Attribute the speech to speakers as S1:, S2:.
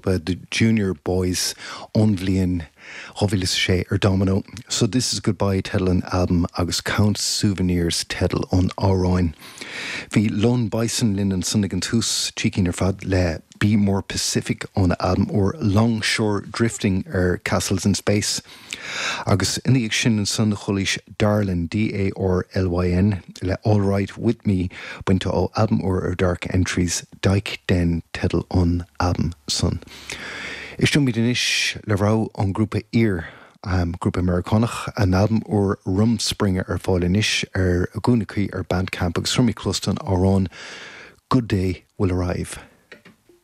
S1: ngrúpa The Junior Boys ón bhliain 2006 ar Domino. So This Is Goodbye teideal an albaim agus Count Souvenirs teideal an amhráin. Bhí Lone Bison linn ansan ag an tús, trí cinn ar fad le Be More Pacific óna albam úr Longshore Drifting ar Castles in Space. Agus ina dhiaidh sin ansan chualaís Darlyn, D-A-R-L-Y-N, le All Right With Me, bainte ó albam úr ar Dark Entries, Dyke Den teideal an albaim san. Éisteoimid anois le rogha ón ngrúpa Ear, grúpa Meiriceánach, a n-albam úr Rumspringa ar fáil anois ar a gcúinne cuí ar Bandcamp agus tabharfaimid cluas don amhrán Good Day Will Arrive.